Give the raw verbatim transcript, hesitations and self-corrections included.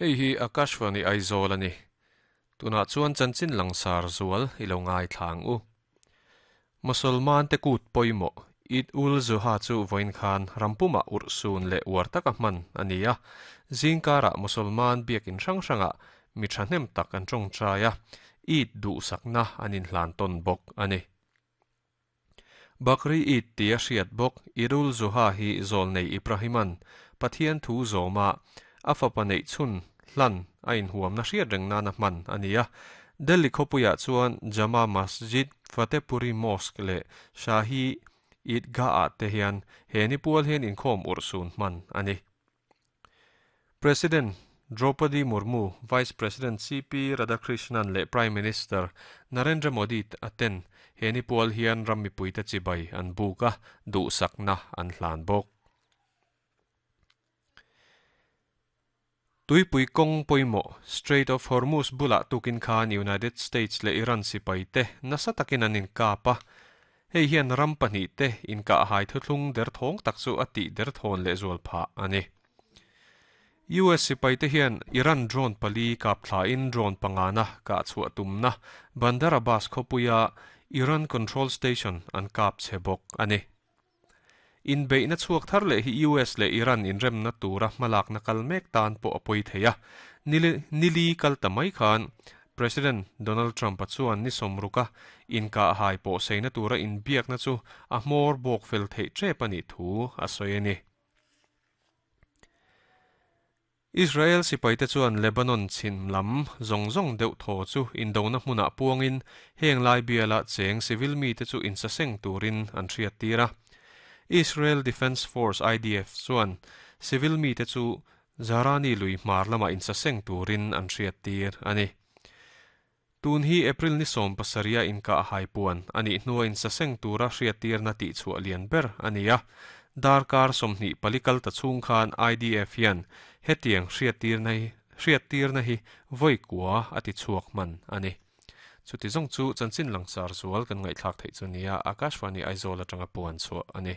Hei hi Akashvani Aizawl ani. Tunah chuan chanchin langsar zual i lo ngai thlang u. Musulman te kut pawimawh Eid ul Zuha chu vawiin khan rampuma urhsun leh uar taka hman a ni a. Zingkarah Musulman biakin hrang hrangah mi thahnem tak an tawngtai a, Eid duhsakna an inhlan tawn bawk a ni. Bakri Eid tia hriat bawk Eid ul Zuha hi zawlnei Ibrahiman Pathian thu zawma a fapa neih chhun hlan a inhuamna hriat reng nana hman a ni a. Delhi khawpuiah chuan Jama Masjid, Fatehpuri Mosque leh Shahi Eidgah-ah te hian he ni pual hian inkhawm urhsun hman a ni. President Draupadi Murmu, Vice President C P Radhakrishnan leh Prime Minister Narendra Modi a ten he ni pual hian ram mipuite chibai an buk a, duhsakna an hlan bawk. Tuipui kawng pawimawh Strait of Hormuz bulah tukin khan United States leh Iran sipai te nasa takin an inkap a. Hei hian ram pahnih te inkah hai thuthlung derthawng tak chu a tih derthawn leh zual phah a ni. U S sipai te hian Iran drone pali kap thlain drone pangana kah chhuah tumna Bandar Abbas khawpuia Iran Control Station an kap che bawk a ni. Inbeihna chhuak thar leh hi U S leh Iran inremna tura hmalakna kal mek tan pawh a pawi thei a. Nili kal ta mai khan President Donald Trump a chuan ni sawmruka inkah hai pawh seina tura inbiakna chu a hmawr bawk fel theih tep a nih thu a sawi a ni. Israel sipaite chuan Lebanon chhim lam zawng zawng deuh thaw chu indona hmunah puangin heng lai biala cheng civil mite chu insaseng turin an hriat tir a. Israel Defense Force I D F chuan civil mite chu Zarani lui hmar lama insaseng turin an hriat tir a ni. Tun hi April ni sawm pasaria inkah hai puan a nih hnua insaseng tura hriat tirna tih chhuah lian ber a ni a. Darkar sawmhnih pali kal ta chhung khan I D F hian hetiang hriat tirna hi hriat tirna hi vawi kua a ti chhuak hman a ni. Chuti zawng chu chanchin langsar zual kan ngaihthlak theih chu nia Akashvani Aizawl atanga puan chhuah a ni.